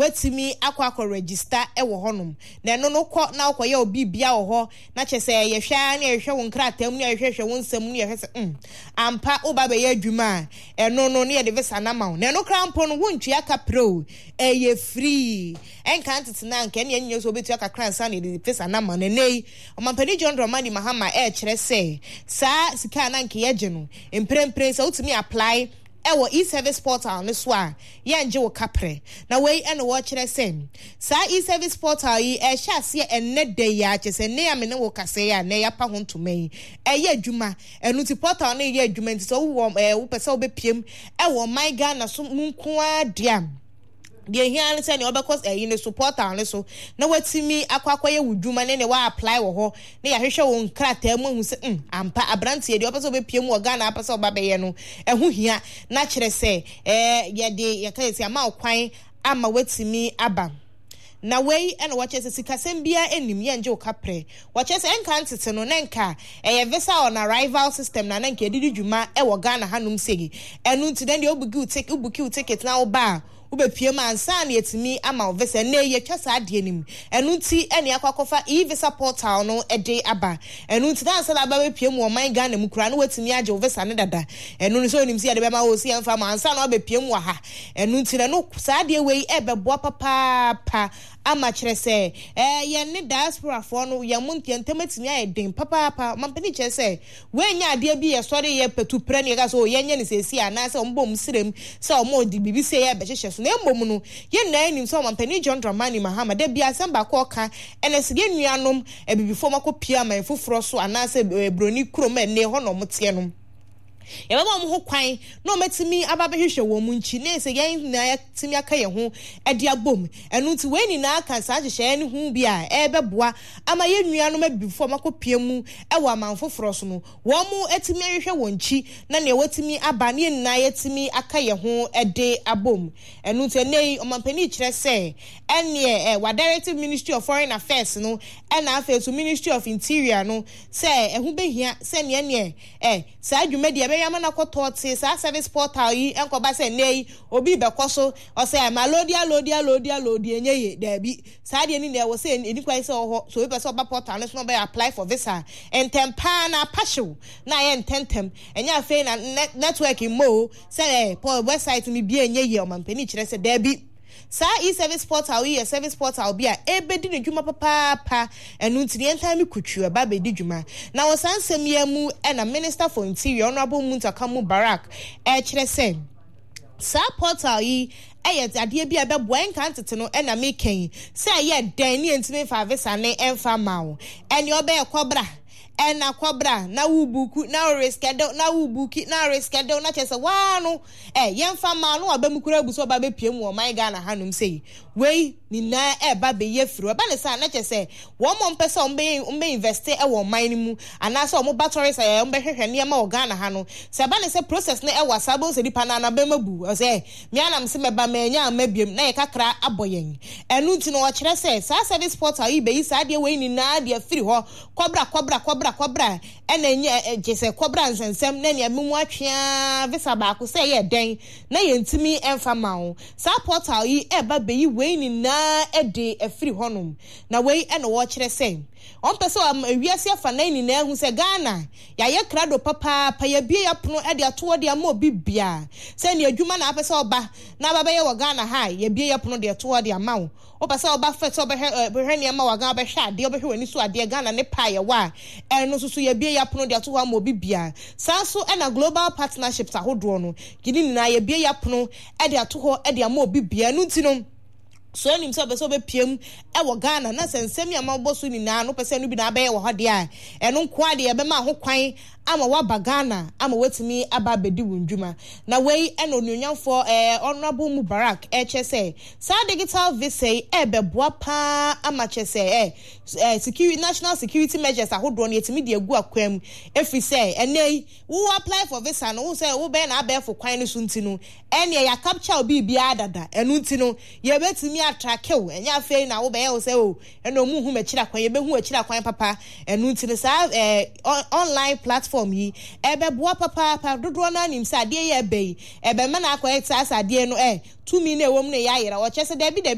woatumi akɔ akɔ register wɔ hɔnom. Na ɛno no wokɔ na wokɔyɛ wo biribia wɔ hɔ na kyerɛ sɛ yɛhwɛ ara ne yɛhwehwɛ wo nkrataa mu ne yɛhwehwɛ wo nsɛm mu ne yɛhwɛ sɛ mm ampa woba bɛyɛ adwuma a ɛno no ne yɛde visa no ama wo. Na ɛno koraa mpo no wontua ka prɛ o, ɛyɛ free. Ɛnka ntete no a anka ɛne ɛnyɛ sɛ wobɛtua kakra ansa na yɛde visa no ama no. Ɛnnɛ yi Ɔmampanin John Dramani Mahama ɛrekyerɛ sɛ saa sika a na anka yɛgye no mprempren sɛ wotumi apply wɔ e-service portal no so a, yɛngye wo kaprɛ. Na wei na wɔrekyerɛ sɛ saa e-service portal yi ɛrehyɛ aseɛ ɛnnɛ da yi ara, kyerɛ sɛ nnɛ yi a me ne wo kasa yi a nnɛ yɛapa ho ntoma yi, ɛyɛ adwuma. Ɛno nti portal no reyɛ adwuma nti sɛ wowɔ ɛɛ wopɛ sɛ wobɛpiem wɔ ɔman Ghana so mu nko ara deɛ a, Deɛ ehia ara ne sɛ nea ɔbɛkɔ ɛyi no so portal no so na watumi akɔ akɔyɛ wo dwuma ne nea wa apply wɔ hɔ na yɛahwehwɛ wo nkrataa mu ahu sɛ mm ampa aberanteɛ deɛ ɔpɛ sɛ ɔbɛpie mu wɔ Ghana apɛ sɛ ɔba bɛyɛ no ɛho hia na kyerɛ sɛ ɛɛ yɛde yɛka yɛ sɛ ama wo kwan ama watumi aba. Na wei na wɔkyerɛ sɛ sikasɛm biara nnim, yɛngye wo kaprɛ. Wɔkyerɛ sɛ ɛnka ntete no na nka ɛyɛ visa on arrival system na na nka yɛde di dwuma wɔ Ghana hanom sei. Ɛno nti na deɛ wobuki wo ticket na woba a, wobɛpue mu ansa na yɛatumi ama wo visa. Ɛnnɛ yi yɛatwa saa adeɛ no mu. Ɛno nti na yɛakɔ akɔfa e-visa portal no de aba. Ɛno nti na ansa na woaba abɛpue mu wɔ ɔman Ghana mu koraa no woatumi agye wo visa no dada. Ɛno no sɛ wonim sɛ yɛde bɛma wo o, sɛ yɛmfa mma wo ansa na woabɛpue mu wɔ ha. Ɛno nti na no saa adeɛ wei ɛbɛboa papaapa ama kyerɛ sɛ ɛɛ yɛn ne diasporafoɔ no yɛn mo yɛn ntam atumi ayɛ den papaapa. Ɔmampanin kyerɛ sɛ wei nyɛ adeɛ bi yɛsɔre yɛ patu prɛ ne yɛka sɛ o yɛnyɛ no seesei anaasɛ wɔn bɔ wɔn srem sɛ wɔn de biribi sei ɛrebɛhyehyɛ so na mmom no yɛn nyinaa nim sɛ ɔmampanin John Dramani Mahama da biara asɛm baako a ɔka ɛne sɛ yɛn nuanom abibifoɔ wɔn akɔpue aman foforɔ so anaasɛ broni kurom a ɛnne hɔ na wɔn teɛ no. Yɛbɛma wɔn ho kwan na wɔatumi aba abɛhwehwɛ wɔn nkyi, na sɛ yɛn nyinaa yɛatumi aka yɛn ho de abom. Ɛno nti, wei nyinaa ka saa nhyehyɛeɛ no ho bi a ɛrebɛboa ama yɛn nuanom abibifoɔ a wɔakɔpia mu wɔ aman foforɔ so no, wɔatumi ahwehwɛ wɔn nkyi na nea wɔatumi aba na yɛn nyinaa yɛatumi aka yɛn ho de abom. Ɛno nti, ɛnnɛ yi, ɔmampanin kyerɛ sɛ ɛnneɛ ɛ, wɔadirective Ministry of Foreign Affairs no ɛna afei nso Ministry of Interior no sɛ ɛho bɛhia sɛ neɛ neɛ Ɛ, saa dwumadi a ɛbɛyɛ ama no akɔ tɔɔtee, saa service portal yi nkɔba sɛ nnɛ yi obi rebɛkɔ so, ɔsɛ ɛ, ma loadi aloadi aloadi aloadi ɛnyɛ yie. Daabi. Saa adeɛ no nyinaa ɛwɔ sɛ ɛni kwan sɛ ɛwɔ hɔ. Sɛ obi pɛ sɛ ɔba portal no so na ɔbɛ apply for visa a, ntɛm pa ara na apa hyew na ayɛ ntɛntɛm. Ɛnyɛ afei na network mmɔ o, sɛ ɛ, website no bie ɛnyɛ yie. Ɔmampanin kyerɛ sɛ daabi. Saa e-service portal yi yɛ service portal bi a ɛrebɛdi ne dwuma papaapa, ɛno nti no yɛntaa me kutwiw ɛba abɛdi dwuma. Na wɔ saa nsɛm yi ara mu na Minister for Interior, Honourable Muntaka Mubarak ɛrekyerɛ sɛ saa portal yi yɛ adeɛ bi a ɛbɛboa ɛnka ntete no na meka yi sɛ ɛyɛ dɛn ne yɛntumi mfa visa ne ɛmfa mma wo ɛne ɔbɛyɛ kɔbra ɛna kɔbra na wo buku na wo reschedule na wo buki na reschedule na kyerɛ sɛ waa no Ɛ, yɛmfa mmaa no aba mu koraa abu sɛ ɔba abɛpue mu wɔ ɔman Ghana hanom sei. Wei nyinaa ɛreba abɛyi afiri hɔ. Ɛba no saa a, na kyerɛ sɛ wɔn a wɔpɛ sɛ wɔbɛyɛ, wɔbɛ investe wɔ ɔman no mu, anaasɛ wɔba tourist a wɔbɛhwehwɛ nneɛma wɔ Ghana ha no, sɛ ɛba no sɛ process no ɛwa saa, wobɛhu sɛ nipa no ara n'abam abu. Ɔsɛ, ɛ, me ara na mese mɛba, mannya amma biom, na yɛ kakra abɔ yɛn. Ɛno nti no, wɔkyerɛ sɛ saa service portal yi bɛyi saa adeɛ wei nyinaa de afiri hɔ. Kɔbra, kɔbra, kɔbra, kɔbra. Ɛna ɛnyɛ ɛ gye sɛ kɔbra nsɛnsɛm na nea memu atwe ara visa baako sɛ ɛyɛ dɛn na yɛntumi mfa ma wo. Saa portal yi ɛreba bɛyi wei nyinaa de afiri hɔnom. Na wei na wɔrekyerɛ sɛ wɔmpɛ sɛ wiase afanan nyinaa hu sɛ Ghana yɛayɛ krado papaapa, yɛabue yɛapono de ato hɔ de ama obi biara sɛ nea adwuma na apɛ sɛ ɔba na aba bɛyɛ wɔ Ghana ha a, yɛabue yɛapono de ato hɔ de ama wo. Wopɛ sɛ woba fɛ sɛ wobɛhwɛ ɛ bɛhwɛ nneɛma wɔ Ghana, wobɛhwɛ adeɛ, wobɛhwɛ w'ani so adeɛ, Ghana ne pɛ a yɛwɔ a, ɛno nso so yɛabue yɛapono de ato hɔ ama obi biara. Saa nso na global partnerships ahodoɔ no, yɛn nyinaa yɛabue yɛapono de ato hɔ de ama obi biara. Ɛno nti no, so wonim sɛ wopɛ sɛ wobɛpue mu wɔ Ghana na sɛ nsɛm yi a mabobɔ so nyinaa no wopɛ sɛ ɛno bi na abɛyɛ wɔ hɔ deɛ a, ɛno nko ara deɛ yɛbɛma ho kwan ama woaba Ghana ama woatumi aba abɛdi wo ndwuma. Na wei na onuonyamfoɔ eh, Honourable Mubarak ɛrekyerɛ sɛ saa digital visa yi ɛrebɛboa paa ama kyerɛ sɛ eh, eh, security, national security measures ahodoɔ no yɛtumi de agu akwan mu ɛfiri sɛ ɛnɛ yi wo apply for visa no wo sɛ wobɛyɛ na abɛɛfo kwan no so nti no ɛneɛ yɛ capture wo biribiara dada ɛno nti no yɛbɛtumi atrake wo ɛnyɛ afei na wobɛyɛ wo sɛ o oh, Ɛna ɔmo nhu m'akyiri akwan, yɛbɛhu w'akyiri akwan papa. Ɛno nti no saa ɛɛ online platform yi ɛbɛboa papaapa. Dodoɔ no ara nim sɛ adeɛ yi a ɛba yi, ɛbɛma no akɔyɛ te sɛ asɛ adeɛ no ɛ tumi no a ɛwɔ mu no yɛ ayera. Ɔkyerɛ sɛ daabi daabi.